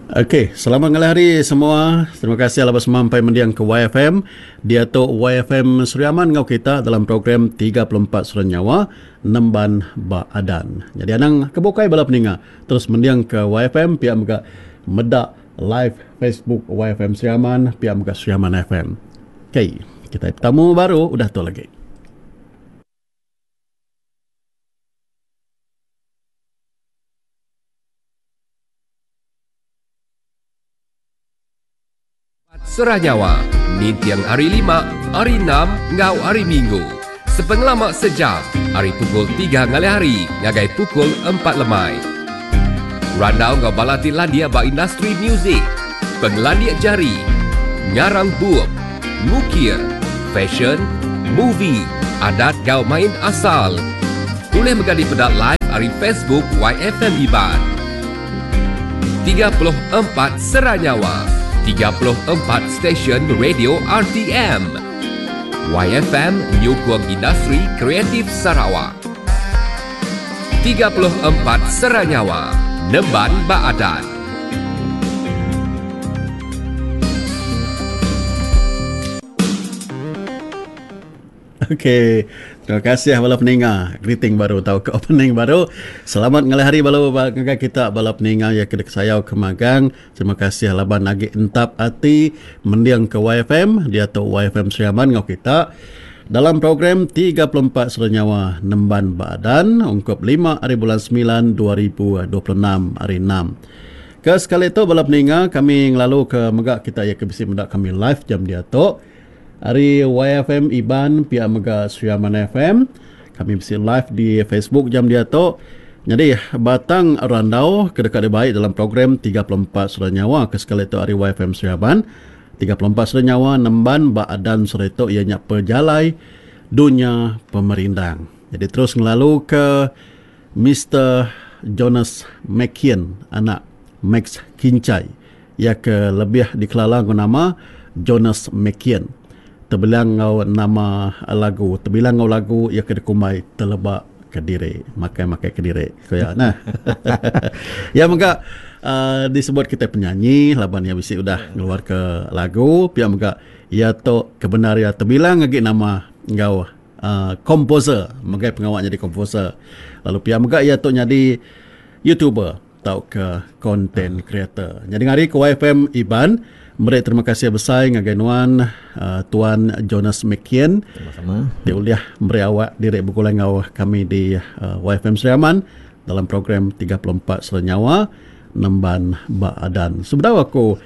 Okey, selamat ngalih hari semua. Terima kasih laban semampai mending ke YFM. Diatu YFM Sri Aman enggau kita dalam program 34 Sera Nyawa Nemban Ba Adan. Nyadi anang ke bukai bala peninga terus mending ke YFM pia mega meda live Facebook YFM Sri Aman pia mega Sri Aman FM. Okey, kitai betamu baru udah tu lagi. Serah nyawa ninting Hari Lima, Hari Enam enggau Hari Minggu sepengelama sejam ari pukul tiga ngalih hari ngagai pukul empat lemai. Randau enggau bala ti landik ba industri muzik, pengelandik jari, ngarang bup, ngukir, fesyen, movie, adat enggau main asal. Ulih mega dipeda live ari Facebook YFM Iban. 34 Sera Nyawa, 34 stesen radio RTM. YFM nyukung industri kreatif Sarawak. 34 Sera Nyawa, nemban ba adat. Okey. Terima kasih bala peninga. Greeting baru tauka opening baru. Selamat ngalih hari bala ngagai kita bala peninga iya ke dikesayau ke magang. Terima kasih laban agi entap ati mending ke YFM diatu YFM Sri Aman enggau kita dalam program 34 Sera Nyawa Nemban Ba Adan ungkup lima ari bulan semilan 2026 hari enam. Ke sekali tu bala peninga kami ngelalu ke mega kita iya ke bisi meda kami live jam diatu. Ari YFM Iban pia mega Sri Aman FM. Kami bisi live di Facebook jam diatu. Nyadi batang randau ke deka dibai dalam program 34 Sera Nyawa ke sekali tu ari YFM Sri Aman. 34 Sera Nyawa nemban ba adan seri tu iya nya pejalai dunya pemerindang. Jadi terus ngelalu ke Mister Jonas Makian anak Max Kincai. Iya ke lebih dikelala enggau nama Jonas Makian. Tebilang enggau nama lagu tebilang enggau lagu iya ke dikumbai Teleba Kediri. Makai-makai kediri, ku iya nah. Iya mega uhh disebut kitai penyanyi laban iya bisi udah ngeluarka lagu pia mega iya tu ke bendar iya tebilang agi nama enggau Komposer, megai pengawa nyadi komposer. Lalu pia mega iya tu nyadi YouTuber tauka content creator. Nyadi ngari ke YFM Iban meri terima kasih besai ngagai nuan Tuan Jonas Mckian Sama-sama. ti ulih meri awak diri begulai enggau kami di YFM Sri Aman dalam program 34 Sera Nyawa Nemban Ba Adan. Sebedau aku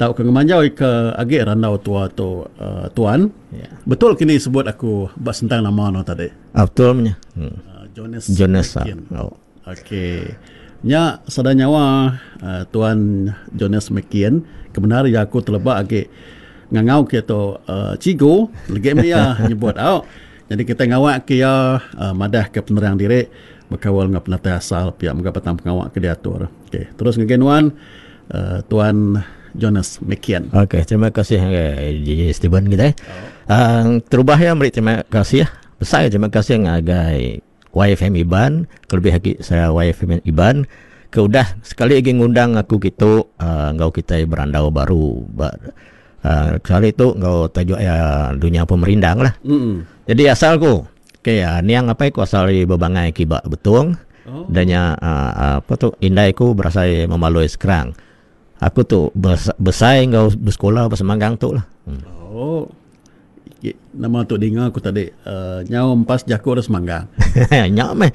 tauka ngemanjau ke agi randau tua tu tuan, Ya. Betul kini sebut aku ba sentang nama no tadi. Ah, betul menya. Hmm. Jonas. Jonas. Ah. Oh. Okey. Nya sada nyawa uh, tuan Jonas McKean kebenar ya aku teleba agi ngangau ke tu uh, cigu legi meh iya nyebut au. Jadi kita ngawak ke iya uh, madah ke penerang diri bekaul enggau penatai asal pia mega batang pengawa ke diatur. Okey, terus ngagai nuan uh, tuan Jonas Mekian. Okey, terima kasih ngagai DJ Steven kitai. Oh. Uh, terubah iya meri terima kasih besai terima kasih ngagai YFM Iban, kelebih agi saya YFM Iban ke udah sekali agi ngundang aku kitu uh, enggau kitai berandau baru ba uh, sekali tu enggau tajuk iya dunya pemerindang lah. Mm. Jadi asal ku Okey, niang apai ku asal ari Bebangai Kiba Betong. Oh. Dan nya apa tu indai ku berasai Memaloi Skrang. Aku tu besai enggau besekula ba Semanggang tu lah. Hmm. Oh. Nama tu dinga aku tadi uh, nyau empas jaku orang Semanggang. Nya meh.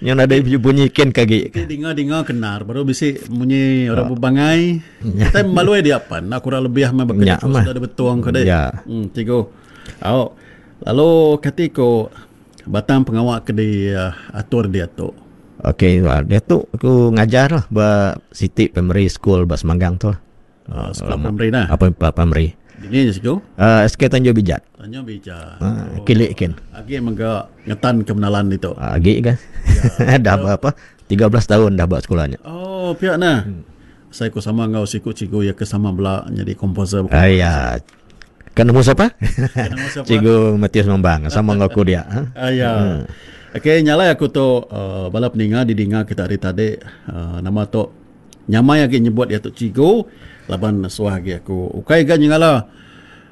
Nya nadai bunyi kin ke agi. Dinga-dinga kenar baru bisi munyi orang Bebangai. Kita Memaloi dia pan nak kurang lebih meh baka jaku sudah Betong ke deh. Ya. Hmm, cikgu. Au. Lalu kati ku batang pengawa ke diatur diatu? Okey, diatu aku ngajar lah ba siti primary school ba Semanggang tu lah. Oh, sekolah primary nah. Apa primary. Dini je siku? SK Tanjung Bijat. Tanjung Bijat. Oh. Kilik kin. Agi mega ngetan ke menalan ditu. Agi kan. Ya. dah berapa? 13 tahun dah buat sekolah nya. Oh, pia nah. Hmm. Saya ku sama enggau siku cikgu ya ke sama bela jadi komposer. Ah, ya. Kan nemu siapa? Kan nemu siapa? Cikgu Matius Mambang sama enggau aku dia. Ha? Ah, ya. Hmm. Okey, nyalai aku tu uh, bala peninga didinga kita hari tadi uh, nama tu Nyamai agi nyebut iya tu cikgu laban suah agi aku ukai ga nyengala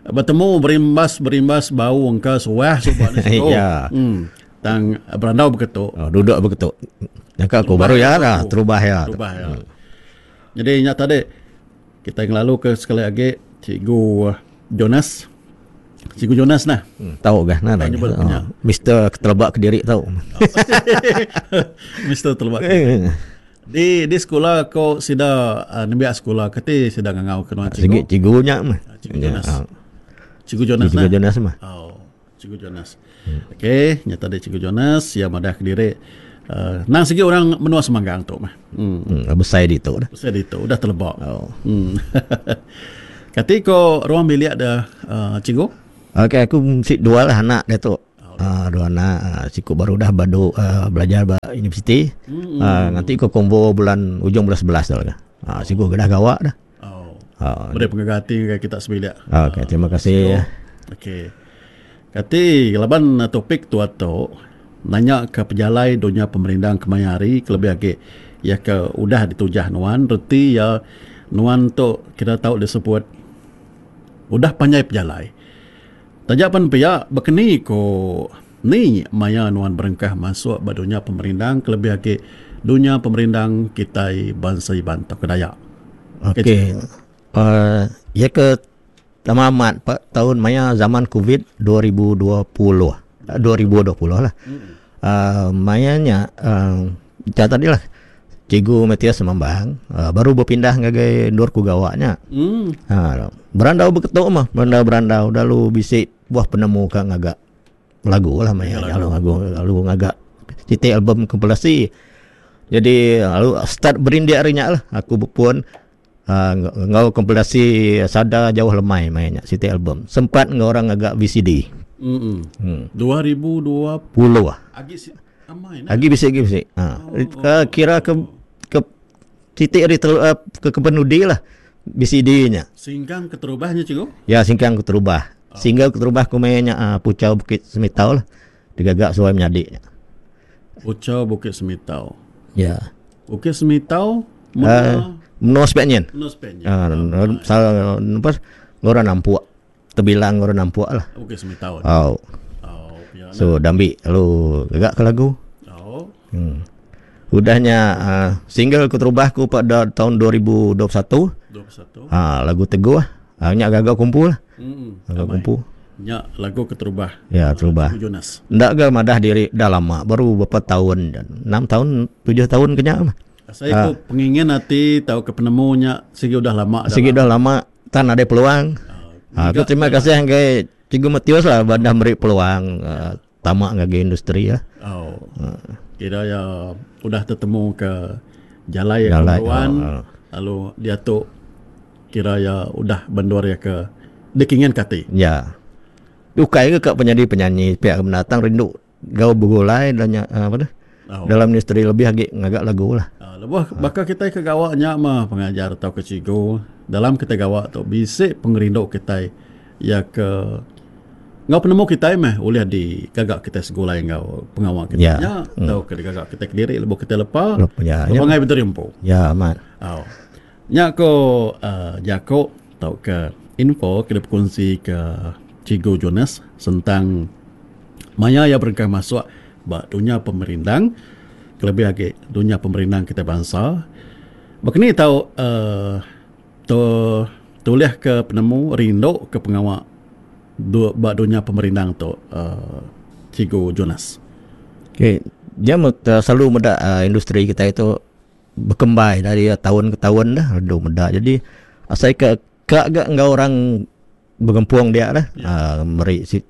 betemu berimbas berimbas bau engka suah suba ne cikgu. Ya. Hmm. Tang berandau beketu. Oh, duduk beketu. Nyangka aku baru ya lah, terubah ya. Terubah ya. Hmm. Jadi nya tadi kita ngelalu ke sekali agi cikgu Jonas. Cikgu Jonas nah. Hmm, tau gah nah. Oh, Mister Telebak Kediri tau. Mister Telebak. Kediri. Di di sekula ko sida uh, nembiak sekula keti sida ngangau ke nuan cikgu. Sigi cikgu nya mah. Ah, cikgu Jonas. Ha. Cikgu Jonas. Cikgu nah. Jonas mah. Oh, Cikgu Jonas. Hmm. Okey, nya tadi Cikgu Jonas ya madah kediri. Uh, nang sigi orang menua Semanggang tu mah. Hmm. hmm besai ditu dah. Besai ditu udah telebak. Oh. Hmm. Kati ko ruang bilik dah uh, cikgu? Okey, aku mesti dua lah anak dia tu. Uh, dua anak uh, siku baru dah badu uh, belajar ba universiti. Hmm. Uh, nanti ko konvo bulan ujung bulan 11 dah lah. Uh, siku dah gawak dah. Oh. Uh, Beri pengaga ati ngagai kita sebilik. Okey, terima kasih. Okey. Kati laban topik tu atu nanya ke pejalai dunya pemerindang kemaya hari kelebih agi iya ke udah ditujah nuan reti iya nuan tu kira tau disebut udah panjai pejalai. Taja pan pia, baka ni ku ni maya nuan berengkah masuk ba dunya pemerindang kelebih agi dunya pemerindang kitai bansa Iban tauka Dayak. Okey. Uh, ya ke lama amat pak tahun maya zaman Covid 2020. 2020 lah. Hmm. Uh, maya nya uh, tadi lah Cikgu Mathias Semambang uh, baru berpindah ngagai endur ku gawa nya. Hmm. Ha, berandau beketu mah, berandau-berandau lalu bisi buah penemu ka ngaga lagu lah maya lalu lagu lalu ngaga siti album kompilasi. Jadi lalu start berindik ari nya lah aku bepun uh, enggau kompilasi Sada Jauh Lemai maya nya siti album. Sempat enggau orang ngaga VCD. Hmm. Hmm. 2020. Agi Agi bisi agi bisi. Ha. Oh. Kira ke ke titik ari ter, eh, ke ke penudi lah BCD nya. Singkang keterubah nya cikgu? Ya, singkang keterubah. Oh. Single keterubah ku maya nya uh, Puchau Bukit Semitau lah. Digaga suai menyadi nya. Puchau Bukit Semitau. Ya. Bukit Semitau menua uh, menua Spanyol. Menua Spanyol. Ah, uh, uh, orang nampuk. Tebilang orang nampuk lah. Bukit Semitau. Oh. Oh, pia So dambi lalu gagak ke lagu. Oh. Hmm. Udahnya uh, single keterubah ku pada tahun 2021. 21. Ha, lagu Teguh. Ha, nya gagak kumpul lah. Hmm. Gagak kumpul. Nya lagu keterubah. Ya, terubah. Cikgu Jonas. Ndak ga madah diri dah lama, baru berapa tahun, 6 tahun, 7 tahun kenya mah. Asai ku pengingin ati tauka penemu nya sigi udah lama dah. Sigi udah lama tan nadai peluang. Ha, aku terima kasih ngagai Cikgu Matius lah badah meri peluang uh, tama ngagai industri lah. Oh. Kira ya udah tetemu ke jalai ya Jalai, kemeruan oh, oh. lalu diatu kira ya udah bendur ya ke dikingin ke ati. Ya. Ukai ke ka penyadi penyanyi pia ke mendatang rindu gau begulai dan nya apa tu? Oh. Dalam industri lebih agi ngaga lagu lah. Uh, lebuh baka kitai ke gawa nya mah pengajar tauka cikgu dalam kitai gawa tu bisi pengerindu kitai iya ke enggau penemu kitai meh ulih digaga kitai segulai enggau pengawa kitai Ya. nya tauka digaga kitai kediri lebuh kitai lepa Lepa, ya, ya. pangai bediri empu. Ya amat. Au. Nya ko uh, jaku tauka info ke dipekunsi ke Cikgu Jonas sentang maya iya berengkah masuk ba dunya pemerindang kelebih agi dunya pemerindang kitai bansa. Baka ni tau uh, tu tulih ke penemu rindu ke pengawa du, ba dunya pemerindang tu uh, Cikgu Jonas. Okey, dia selalu meda uh, industri kita itu berkembai dari tahun ke tahun dah rindu meda. Jadi asai ke ka ga enggau orang begempung dia lah Ya. uh, meri si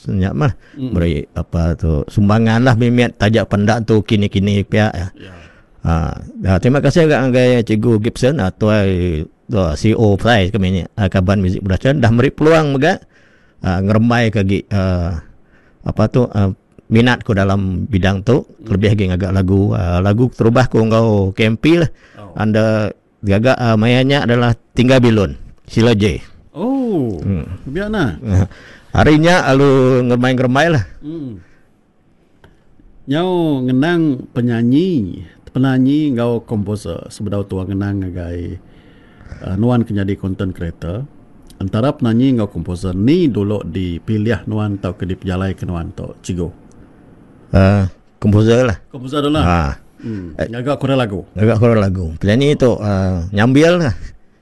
nya mah meri apa tu sumbangan lah mimit taja pendak tu kini-kini pia ya. Ya. Ha, terima kasih juga ngagai Cikgu Gibson uh, tuai uh, CEO Prize kami ni uh, Kaban Music Production dah meri peluang mega uh, ngerembai ke agi uh, apa tu uh, minat ku dalam bidang tu lebih agi ngaga lagu uh, lagu terubah ku enggau KMP lah. Oh. Anda gaga uh, maya nya adalah Tinggal Bilun Sila J. Oh. Biar nah. Hari nya lalu ngerembai-ngerembai lah. Nyau ngenang penyanyi Penanyi enggau komposer sebedau tua ngenang ngagai nuan ke nyadi content creator. Entara penanyi enggau komposer ni dulu dipilih nuan tauka dipejalaika nuan tu cikgu? Uh, komposer lah. Komposer dulu lah. Ha. Ngaga kura lagu. Ngaga kura lagu. Penyanyi tu uh, nyambil lah.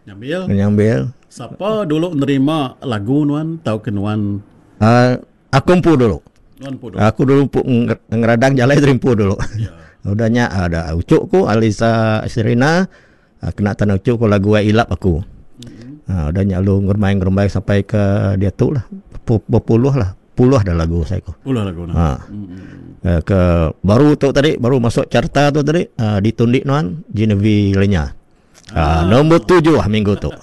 Nyambil. Nyambil. Sapa dulu nerima lagu nuan tauka nuan? Uh, Aku empu dulu. Nuan empu dulu. Aku dulu empu ngeradang jalai diri empu dulu. Ya. Udah nya ada ucuk ku Alisa Serina kena tanah ucuk ku lagu ai ilap aku. Mm-hmm. Ha, udah nya lu ngerembai ngerembai sampai ke diatu lah. Berpuluh lah. Puluh dah lagu saya ku. Puluh lagu nah. Ha. Mm-hmm. Ke baru tu tadi baru masuk carta tu tadi ditundi nuan Genevieve Lenya. Ah. Nombor 7 lah minggu tu.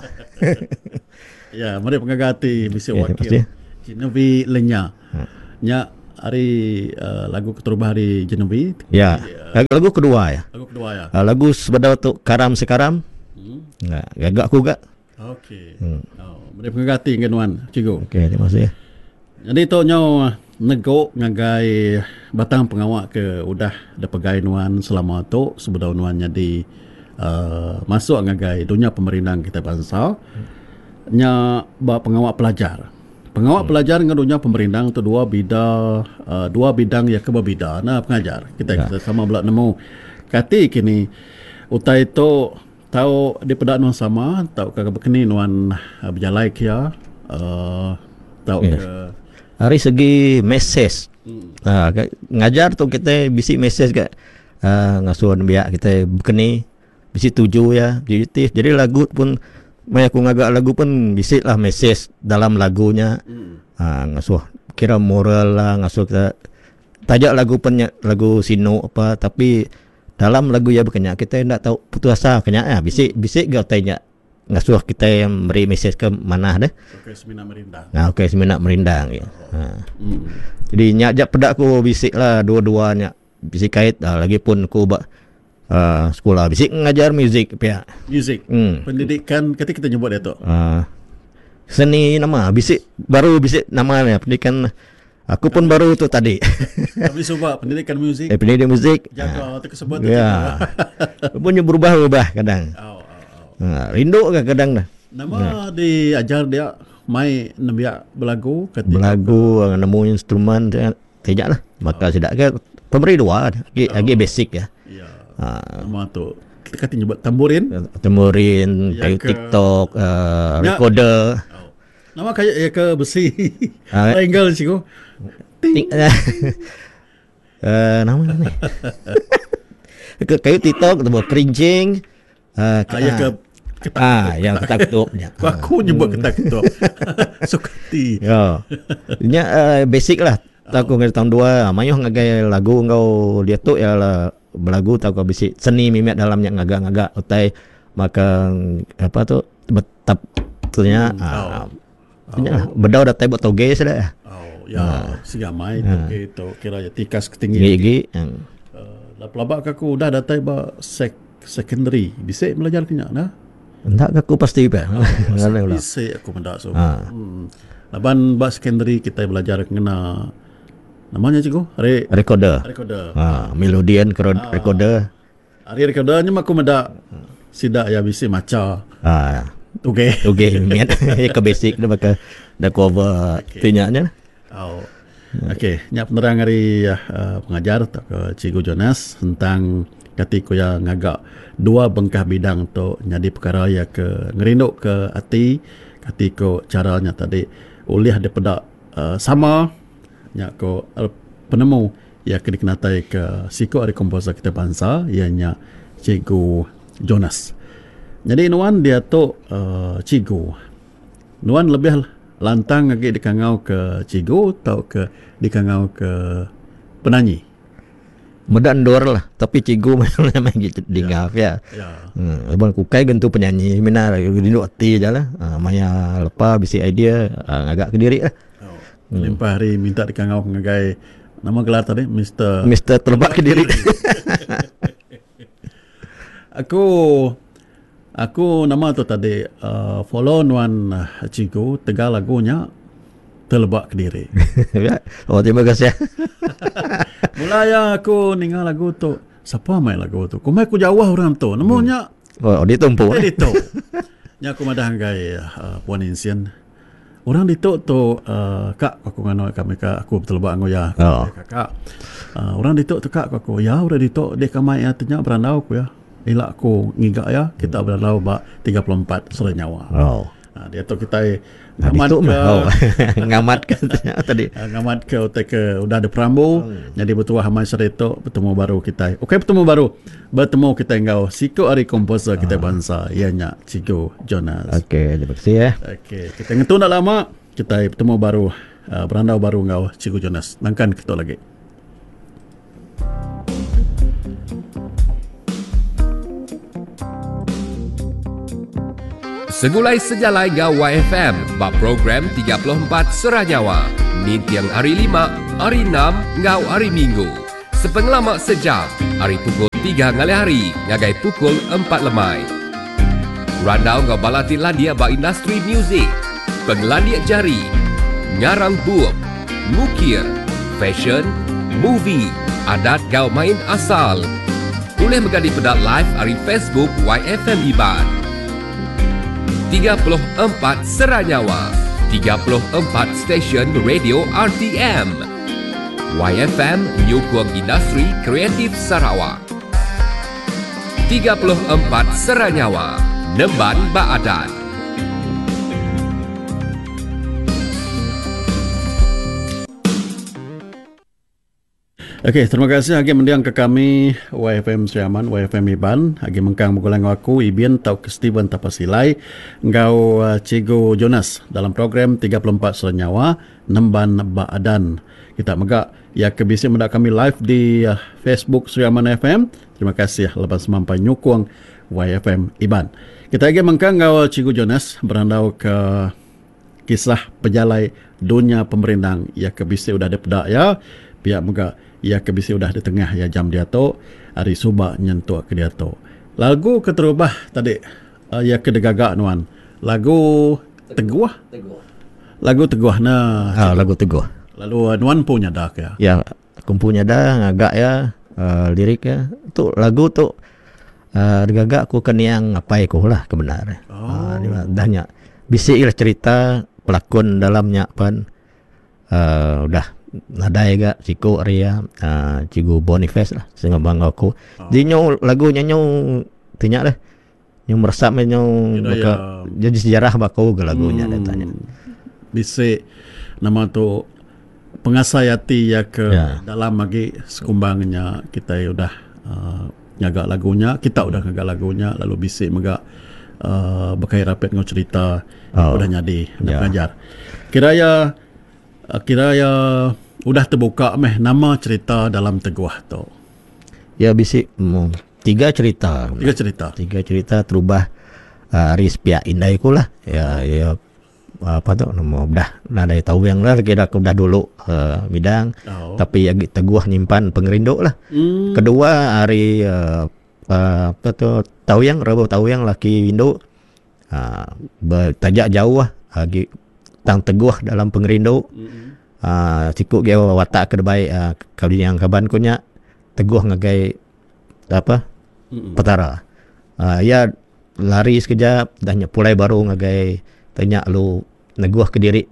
Ya, meri pengaga ati bisi Ya, wakil. pasti. Genevieve Lenya. Nya hari lagu keterubah hari Genevieve. Ya. Lagu kedua ya. Lagu kedua ya. Lagu sebedau tu Karam Sekaram. Ya, gagak aku gak. Okey. Oh, meri pengaga ati ngan nuan, cikgu. Okey, terima kasih. Jadi tu nyau nego ngagai batang pengawa ke udah dipegai nuan selama tu sebedau nuan nyadi uh, masuk ngagai dunya pemerindang kita bansa. Nya ba pengawa pelajar. Pengawa pelajar dengan dunya pemerindang tu dua bida dua bidang yang ke berbida. Nah pengajar kita, Ya. kita sama bela nemu kati kini utai tu tau dipeda nuan sama tau ke bekeni nuan bejalai kia tau Yes. ke Dari segi message. Ha, ngajar tu kita bisi message kat ngasuh nembiak kita bekeni bisi tuju ya, objektif. Jadi lagu pun maya aku ngagak lagu pun bisi lah message dalam lagunya. Ha, ngasuh kira moral lah ngasuh kita tajak lagu pun lagu sinu apa tapi dalam lagu ya bekenya kita ndak tahu putus asa kenya ya bisi bisi gak tanya ngasuh kita yang beri message ke mana deh. Okey, semina merindang. Nah, okey semina merindang ya. Ha. Jadi nyak jak pedak ku bisik lah dua-dua nyak bisik kait dah lagi pun ku ba sekolah bisik ngajar muzik pihak. Muzik. Pendidikan ketika kita nyebut dia tu. Seni nama bisik baru bisik nama ni pendidikan aku pun baru tu tadi. Tapi sebab pendidikan muzik. Pendidikan muzik. Jaga tu kesebut tu. Ya. Punya berubah-ubah kadang. Oh. Ha, rindu ke kadang dah. Nama diajar dia mai nembiak belagu ketika Belagu nemu instrumen tidak lah. Maka tidak ke pemberi dua lagi lagi basic ya. Ya. Ha. Nama tu kita kata nyebut tamburin. Tamburin, Ya kayu ke- TikTok, Ya. recorder. Oh. Nama kayu ya ke besi. Ah. Triangle cikgu. Ting. Nama ni. Ke kayu TikTok tu kerincing. Ah, ya ke ketak. Yang ketak ketuk. Ya. Aku nyebut ketak ketuk. Sukati. Ya. Nya basic lah. Tak aku ngajar tahun 2, mayuh ngagai lagu ngau dia tu ialah belagu tak aku bisi seni mimet dalamnya ngagak-ngagak utai maka apa tu betap tu nya. Nya lah, bedau datai buat toge sudah. Oh, ya, sigamai toge tu kira ya tikas ketinggi. Gigi. Lah pelabak aku udah datai ba secondary. Bisa belajar kenya nah. Enggak aku pasti pe. Bisa aku mendak so. Laban ba secondary kita belajar kena namanya cikgu Recorder. Recorder. Ha, melodian recorder. Hari recorder nya aku mendak sidak ya bisi maca. Okey. Okey, miat ke basic dia bakal dah cover okay. Tinyaknya. Oh. Okey, nya penerang hari pengajar atau ke Cikgu Jonas tentang kati ku yang ngagak dua bengkah bidang tu jadi perkara ya ke ngerinduk ke ati kati ku caranya tadi ulih daripada sama nya ku penemu ya ke dikenatai ke siku ari komposer kita bangsa ianya Cikgu Jonas. Jadi nuan dia tu cikgu. Nuan lebih lantang lagi dikangau ke cikgu atau ke dikangau ke penyanyi? Medan dor lah, tapi cikgu memang gitu dengar ya. Ya. Lepas kukai gentu penyanyi mina rindu ati je lah. Maya lepa bisi idea ngagak ke diri lah. Oh. Limpah hari minta dikangau ngagai nama gelar tadi Mister Mister Terbak ke diri. Aku nama tu tadi follow nuan cikgu tegal lagunya Telebak Kediri. Ya. Oh, terima kasih. Mula ya aku ningal lagu tu. Sapa mai lagu tu? Kumbai ku jauh orang tu. Nemu nya. Oh, ditu empu. Eh, ditu. Nya aku madah ngagai uh, Puan Insin. Orang ditu tu uh, kak aku nganu kami ka aku beteleba enggau iya. Oh. Kakak. Uh, orang ditu tu kak ku aku. Ya, orang ditu dia kamai iya tanya berandau ku ya. Ila aku ngiga iya, kita berandau ba 34 Sera Nyawa. Oh. Ha, diatu kitai ngamat ke oh. ngamat ke tadi. Ha, ngamat ke utai ke udah diperambu hmm. jadi betuah amai seri tu betemu baru kitai. Okey betemu baru. Betemu kitai enggau siku ari komposer kitai ha. bansa iya nya Cikgu Jonas. Okey, terima kasih ya. Okey, kita ngetu enda lama kitai betemu baru uh, berandau baru enggau Cikgu Jonas. Nangkan ketu lagi. Segulai sejalai enggau YFM ba program 34 Serah Nyawa ninting hari Lima, Hari Enam enggau Hari Minggu sepengelama sejam ari pukul tiga ngalih hari ngagai pukul empat lemai. Randau enggau bala ti landik ba industri muzik, pengelandik jari, ngarang bup, ngukir, fashion, movie, adat enggau main asal. Ulih mega dipeda live ari Facebook YFM Iban. 34 Sera Nyawa, 34 stesen radio RTM. YFM nyukung industri kreatif Sarawak. 34 Sera Nyawa, nemban ba adat. Okey, terima kasih agi mending ke kami YFM Sri Aman, YFM Iban, agi mengkang begulai enggau aku Ibin tauka Steven Tapasilai enggau uh, Cikgu Jonas dalam program 34 Sera Nyawa Nemban Ba Adan. Kita mega ya ke bisi meda kami live di uh, Facebook Sri Aman FM. Terima kasih laban semampai nyukung YFM Iban. Kita agi mengkang enggau Cikgu Jonas berandau ke kisah pejalai dunya pemerindang iya ke bisi udah dipeda iya, pia mega iya ke bisi udah ditengah iya jam diatu ari suba nyentuk ke diatu. Lagu keterubah tadi iya ke digaga nuan lagu Teguh. Lagu Teguh ne. Ha lagu Teguh. Lalu nuan empu nyada ke iya? Ya, Aku empu nyada ngaga iya lirik iya. Tu lagu tu uhh digaga ku ke niang apai ku lah ke bendar. Oh. Udah nya bisi lah cerita pelakon dalam nya pen uhh udah nadai ga siku ari iya uhh Cikgu Boniface lah sengapa enggau aku. Ji nyu lagu nya nyu ti nya deh nyu meresap meh nyu baka jadi sejarah ba aku ga lagu nya deh tanya. Bisi nama tu pengasai ati iya ke ya. dalam agi sekumbang nya kitai udah uh, ngaga lagu nya, kita udah ngaga lagu nya lalu bisi mega uh, bekait rapit enggau cerita oh. udah nyadi ya. pengajar. Kira ya uh, kira ya udah terbuka meh nama cerita dalam teguh tu. Ya bisi tiga cerita. Tiga cerita. Tiga cerita terubah uh, ari sepiak indai ku lah. Ya ya apa tu nama udah nadai tawing lah kira aku udah dulu uh, bidang Oh. tapi agi teguh nyimpan pengerindu lah. Kedua ari uh, uh, apa tu tawing reba tawing laki indu uh, bertajak jauh agi tang teguh dalam pengerindu. Uh, siku ge watak ke debai uh, kali yang kaban ku nya teguh ngagai apa Petara. Uh, iya lari sekejap dah nya pulai baru ngagai tanya lalu neguh ke diri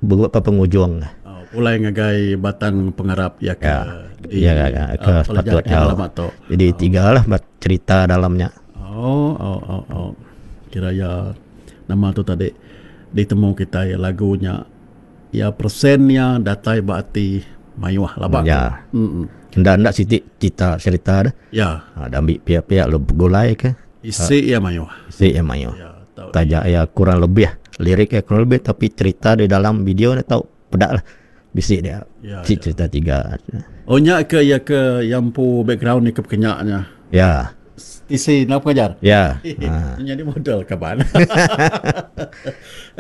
beberapa pengujung. Oh, pulai ngagai batang pengarap iya ke Ya, di ya, ya, ke uh, sepatut pelajar ya. lama tu. Jadi tiga lah cerita dalamnya. Oh, oh, oh, oh. Kira ya nama tu tadi ditemu kita ya lagunya ya persen ya datai ba ati mayuh laba. Ya. Mm. Enda enda siti cerita cerita dah. Ya. Ha, dah ambil pihak-pihak lu begulai ke. Isi iya mayuh. Isi iya mayuh. Ya, tau. Taja iya kurang lebih lirik iya kurang lebih tapi cerita di dalam video ni tau peda lah. Bisi dia. Ya, Bisi ya. cerita tiga. Oh nya ke iya ke yang empu background ni ke pekenya nya. Ya. Isi nak pengajar. Ya. Ha. Jadi model kaban.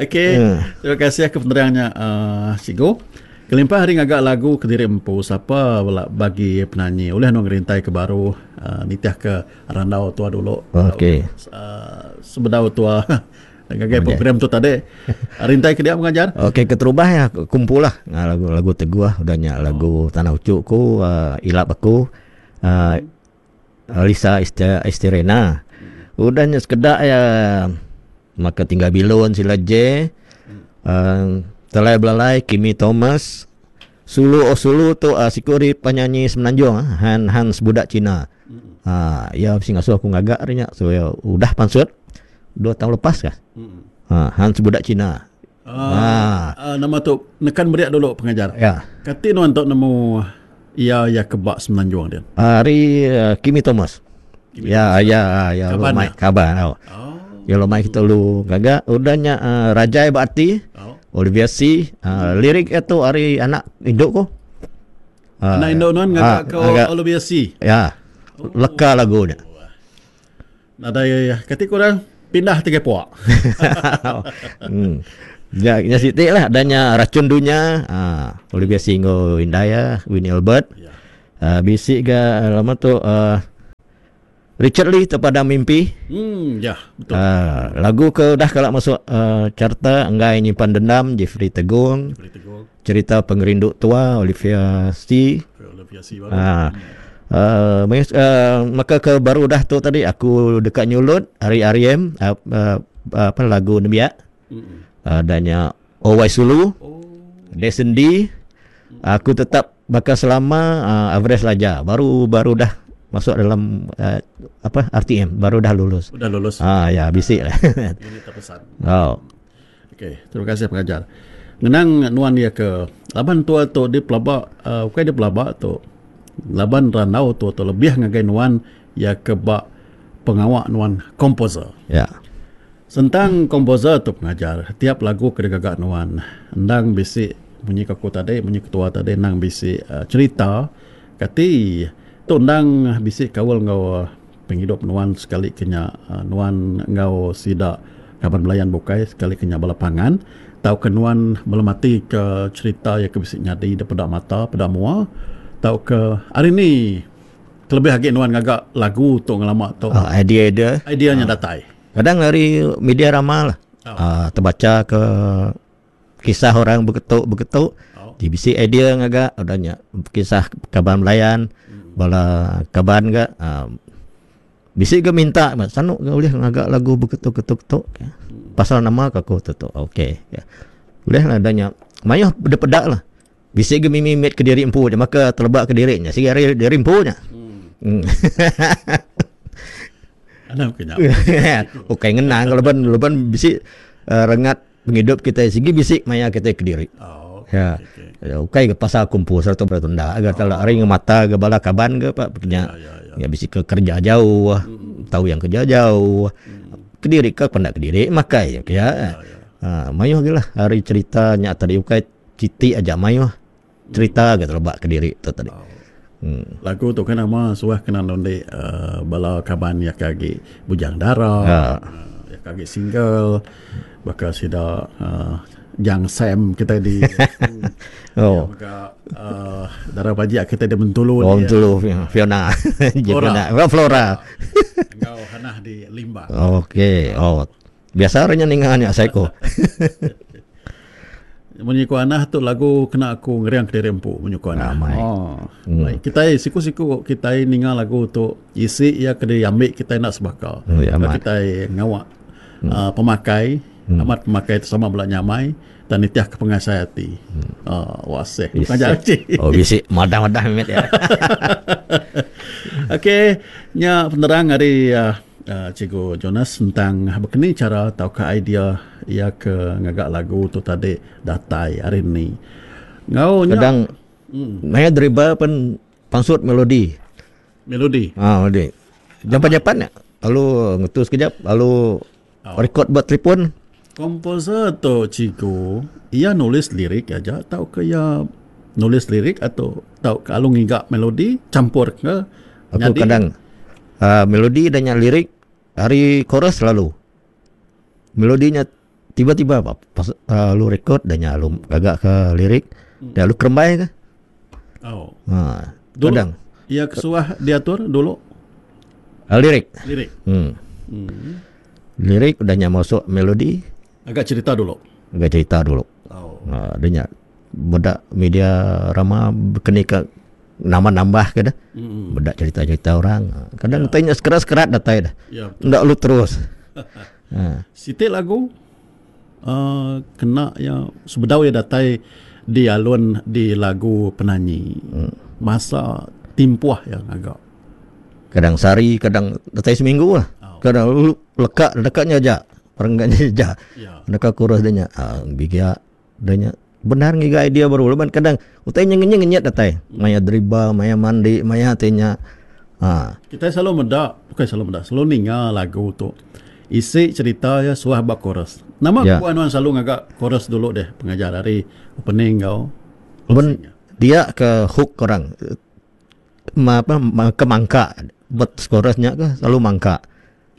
Okey, terima kasih ke penerangnya uh, Cikgu. Kelimpah hari ngaga lagu kediri empu sapa bela bagi penanyi ulih nu ngerintai ke baru uh, nitih ke randau tua dulu. Okey. Uh, sebedau tua ngagai program tu tadi rintai ke dia mengajar. Okey keterubah ya kumpul lah lagu-lagu teguh udah nya lagu Tanah Ucuk ku uh, ilap aku uh, Lisa Esterena. Udah nya sekeda iya maka tinggal bilun sila J. Uh, Telai belalai Kimi Thomas. Sulu oh sulu tu uh, siku ari penyanyi Semenanjung uh, Han Hans budak Cina. Ha, ya bisi ngasuh aku ngaga ari nya. So ya udah pansut dua tahun lepas kah. Ha, Hans budak Cina. Uh, ha. Uh, nama tu nekan beriak dulu pengajar. Ya. Kati nuan tu nemu iya ya kebak Semenanjung dia. Ari uh, Kimi Thomas. Kimi ya, Thomas. ya, ya, Kaban. Lumai, kaban. Oh. Oh. Ya lumai kita lu gaga udahnya uh, Rajai Berarti. Oh. Olivia C. Uh, lirik itu ari anak induk ko. Uh, Anak induk nuan ngaga ke Olivia C. Ya. Leka lagu nya. Nadai kati kurang pindah tiga puak. Ya, nya siti lah adanya racun dunia. Ah, Olivia C enggau indai ya, Winnie Albert. Ya. Bisi ga lama tu Richard Lee terpadam mimpi. Ya, betul. Lagu ke udah kala masuk carta enggai nyimpan dendam Jeffrey Tegong. Jeffrey Tegong. Cerita Pengerindu Tua Olivia C. Olivia C baru. Maka ke baru dah tu tadi aku deka nyulut ari RM apa lagu nembiak. Adanya OY Sulu. Oh. Desendi. Aku tetap baka selama Everest Laja baru baru dah masuk dalam apa RTM baru dah lulus. Udah lulus. Ah ya bisi lah. Unit terpesan. Oh. Okey, terima kasih pengajar. Ngenang nuan dia ke laban tua tu di pelaba bukan di pelaba tu. Laban randau tu tu lebih ngagai nuan ya ke ba pengawa nuan komposer. Ya. Sentang komposer tu pengajar, tiap lagu ke digaga nuan endang bisi munyi ke aku tadi, munyi ketua tadi endang bisi cerita kati tu endang bisi kaul enggau pengidup nuan sekali ke nya nuan enggau sida kaban belayan bukai sekali ke nya bala pangan tauka nuan belemati ke cerita iya ke bisi nyadi da peda mata peda mua tauka hari ni kelebih agi nuan ngaga lagu tu ngelama tu Idea dia idea nya datai. Kadang ari media rama lah. Tebacha ke kisah orang beketu-beketu ti bisi idea ngaga udah nya kisah kaban belayan bala kaban ga bisi ga minta sanu ga ulih ngaga lagu beketu-ketu ketu pasal nama ka ku tu tu okey ulih lah udah nya mayuh dep peda lah bisi ga mimit mit kediri empu nya maka teleba kediri nya sigi ari diri empu nya. Anang ke nya. Ukai ngenang laban laban bisi rengat Pengidup kitai sigi bisi maya kitai kediri. Oh, Ya. okey, okey. Ya, ukai ke pasal kumpul sereta bera tunda ga tala ari ngemata ga bala kaban ga pak nya. Ya, ya, ya. Ya bisi ke kerja jauh, tau yang kerja jauh. Kediri ke penda kediri makai ya. Ya, ya. Ha, mayuh agi lah ari cerita nya tadi ukai siti aja mayuh cerita ga teleba kediri tu tadi. Oh. Hmm. Lagu tu kan nama suah kena nundi bala kaban iya ke agi bujang dara, Ha. iya ke agi single baka sida uhh Jang Sam kitai di Oh. Iya mega uhh dara bajik kitai di Bentulu Oh, di Bentulu Fiona. Flora. Fiona. Flora. Enggau Hanah di Limbang. Okey. Oh. Biasa orang nya ninga nya asai ko. Munyi ku Anah tu lagu kena aku ngering kediri empu munyi ku Anah. Amai. Oh. Hmm. Kitai siku-siku kitai ninga lagu tu isi iya ke diambi kitai enda sebaka. Oh, ya, amat. Kitai ngawa pemakai amat pemakai tu sama bela nyamai dan nitih ke pengasai ati. Oh, waseh. Pengajar cik. Oh, bisi madah-madah mimit ya. Okey, nya penerang ari uh, Cikgu Jonas tentang bekeni chara tauka idea iya ke ngaga lagu tu tadi datai ari ni. Enggau nya Kadang maya deriba pen pansut melodi. Melodi. Ha melodi. Japan-japan nya lalu ngetu sekejap lalu record ba telefon. Komposer tu cikgu iya nulis lirik aja tauka iya nulis lirik atau tauka alu ngiga melodi champur ke Aku kadang melodi dan nya lirik ari chorus lalu. Melodi nya tiba-tiba pas lalu record dan nya lalu gaga ke lirik dan lalu kerembai ke. Oh. Ha. Dulu, Kadang. Iya kesuah diatur dulu. Lirik. Lirik. Lirik udah nya masuk melodi. Agak cerita dulu. Agak cerita dulu. Oh. Ha, dia nya meda media rama bekeni ke Nambah-nambah ke dah. Meda cerita-cerita orang. Kadang utai nya sekerat-sekerat datai dah. Ya, betul. Enda lu terus. Ha. Siti lagu uh, kena ya sebedau ya datai di alun di lagu penanyi. Masa timpuh ya ngaga. Kadang sehari, kadang datai seminggu lah. Oh. Kadang lu leka dekatnya aja. Perenggannya aja. Ya. Deka kurus dia nya. Ha, bigia Udah nya bendar ngiga idea baru laban kadang utai nya ngenyit ngenyit datai maya deriba maya mandi maya ti nya ha. Kitai selalu meda, bukai selalu meda, selalu ninga lagu tu. Isi cherita iya suah ba chorus. Nama Ya. kebuah nuan selalu ngaga chorus dulu deh pengajar ari opening enggau Laban closing iya? dia ke hook orang ma apa ke mangka bet chorus nya ke selalu mangka.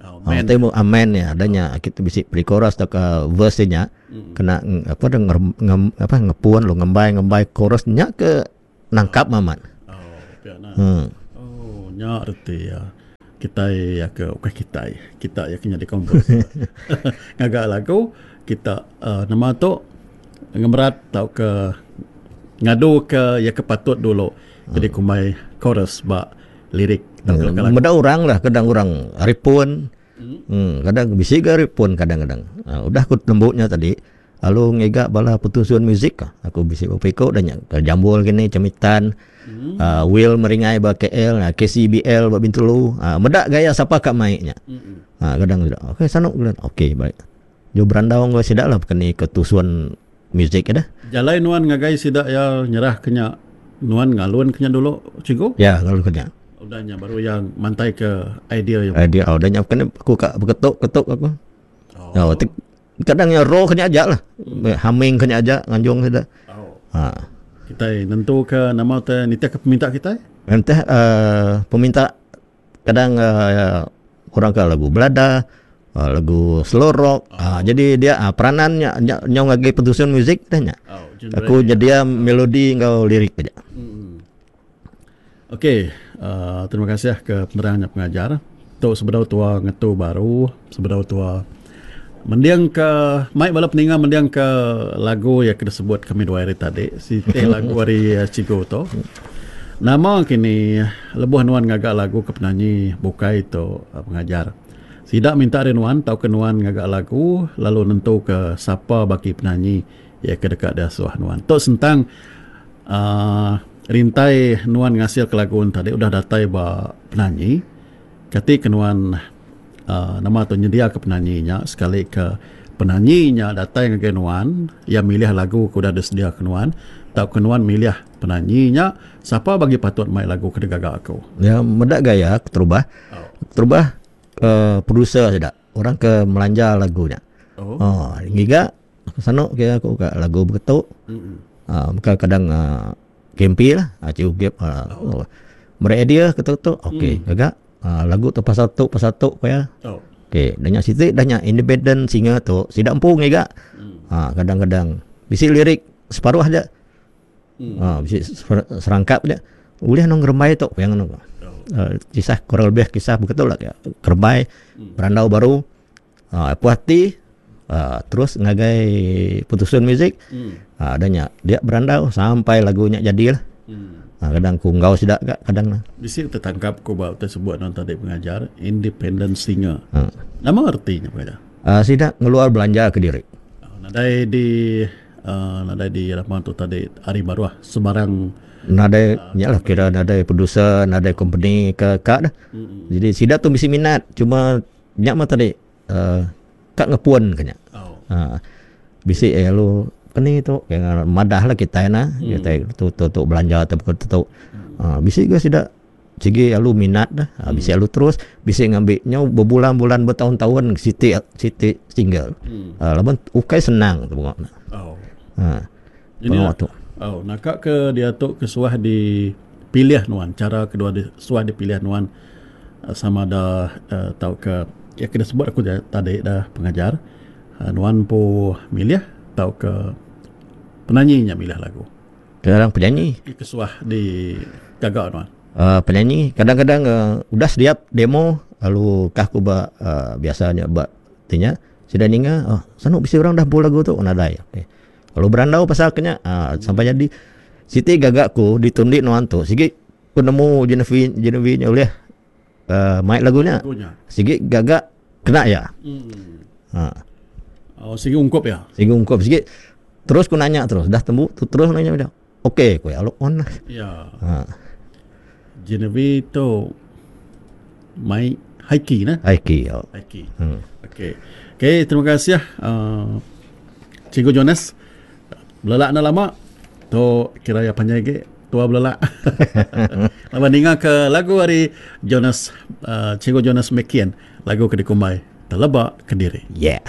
Oh, Ha, man. temu amen ya, ada nya kita bisi pre-chorus atau ke verse nya kena apa dah ngem, apa ngepun lu ngembai-ngembai chorus nya ke nangkap amat. Oh, pia nah. Oh, nya reti ya. Kitai ya ke ukai kitai. Kita ya ke nyadi komposer. Ngaga lagu kita uh, nama tu ngemerat tauka ngadu ke ya ke patut dulu. Jadi kumbai chorus ba lirik tauka leka lagu. Meda orang lah kadang orang ari pun. Hmm. Kadang bisi ga ari pun kadang-kadang. Ha, udah aku tembu nya tadi lalu ngiga bala petusun muzik ka. Aku bisi beberapa iku dah nya ke Jambul kini Cemitan, hmm. Will Meringai ba KL, KCBL ba Bintulu. Ha, meda gaya sapa ka mai nya. Hmm. Ha, kadang sudah. Okey sanu okey baik. Ju berandau enggau sida lah keni ke tusun muzik dah. Jalai nuan ngagai sida iya nyerah ke nya nuan ngalun ke nya dulu cikgu? Ya ngalun ke nya. Udah nya baru iya mantai ke idea iya. Idea oh, udah nya kena aku ka beketuk-ketuk aku. Oh. Oh, kadang iya roh ke nya aja lah. Humming ke nya aja nganjung sida. Oh. Ha. Kitai nentu ke nama te nitih ke peminta kitai? Nitih peminta kadang orang ke lagu belada, lagu slow rock. Oh. Jadi dia peranan nya nyau ngagai petusun muzik dah nya. Oh, aku nyedia melodi enggau lirik aja. Hmm. Okey, terima kasih ke penerang nya pengajar. Tu sebedau tua ngetu baru, sebedau tua mending ke mai bala peninga mending ke lagu yang disebut kami dua hari tadi, siti lagu ari cikgu tu. Nama kini lebuh nuan ngaga lagu ke penanyi bukai tu pengajar. Sida minta ari nuan tauka nuan ngaga lagu lalu nentu ke sapa baki penanyi iya ke deka diasuh nuan. Tu sentang uhh rintai nuan ngasil ke lagu tadi udah datai ba penanyi. Kati ke nuan uhh nama tu nyedia ke penanyi nya sekali ke penanyi nya datai ngagai nuan iya milih lagu ke udah disedia ke nuan tauka nuan milih penanyi nya sapa bagi patut mai lagu ke digaga aku. Ya meda gaya keterubah. Keterubah uhh producer sida orang ke melanja lagu nya. Oh. Oh ngiga Aku sanu ke aku ka lagu beketu. Aaa meka kadang aaa KMP lah aaa cikgu gap aaa oh. Meri idea ke tu tu okey gaga aaa lagu tu pasal tu pasal tu ku iya. Okey dah nya siti dah nya independent singer tu sida empu ngiga aaa kadang-kadang bisi lirik separuh aja. Aaa bisi serangkap aja ulih nang ngerembai tu ku iya nganu. Aaa kisah kurang lebih kisah beketu lah kerembai berandau baru. Aaa puas ati aaa terus ngagai putusun muzik aaa udah nya dia berandau sampai lagu nya jadi lah. Aaa kadang ku enggau sida ga kadang ne. Bisi tetangkap ku ba utai sebut nuan tadi pengajar independent singer. Nama reti nya pengajar? Aaa sida ngeluar belanja kediri. Nadai di aaa nadai di nama tu tadi ari baruh sebarang. Nadai nya lah kira nadai producer nadai company ke ka dah. Jadi sida tu bisi minat cuma Nya mah tadi uhh ka ngepun ka nya. Uhh bisi iya lalu keni tu madah lah kitai nah kitai tu tu tu belanja tu tu tu. Uhh bisi ga sida sigi lalu minat dah bisi lalu terus bisi ngambi nyau bebulan bulan betaun taun siti siti single. Uhh laban ukai senang tu bunga ne. Uhh pengawa tu. Oh naka ke diatu ke suah dipilih nuan chara kedua suah dipilih nuan Sama da tauka ya ke disebut aku tadi da pengajar nuan empu milih tauka penanyi nya milih lagu. Kadang penyanyi. Ke suah digaga nuan. uhh Penyanyi kadang-kadang uhh udah sedia demo lalu kah ku ba uhh biasa nya ba ti nya sida ninga uhh sanu bisi orang dah empu lagu tu nadai. Lalu berandau pasal ke nya uhh sampai jadi siti gaga ku ditundi nuan tu sigi. ku nemu Genevieve Genevieve nya ulih uh, mai lagu nya. Lagu nya. Sigi gaga kena iya. Ha. Oh, sigi ungkup iya. Sigi ungkup sigi terus ku nanya terus dah tembu tu terus nanya dia. Okey ku iya lalu on lah. Ya. Ha. Genevieve tu mai haiki nah. Haiki. Oh. Haiki. Okey. Okey, terima kasih uh, Cikgu Jonas. Belelak enda lama tu kira iya panjai agi tua belelak. Laban ninga ke lagu ari Jonas uh, Cikgu Jonas Mekian lagu ke dikumbai Teleba Kediri. Yeah.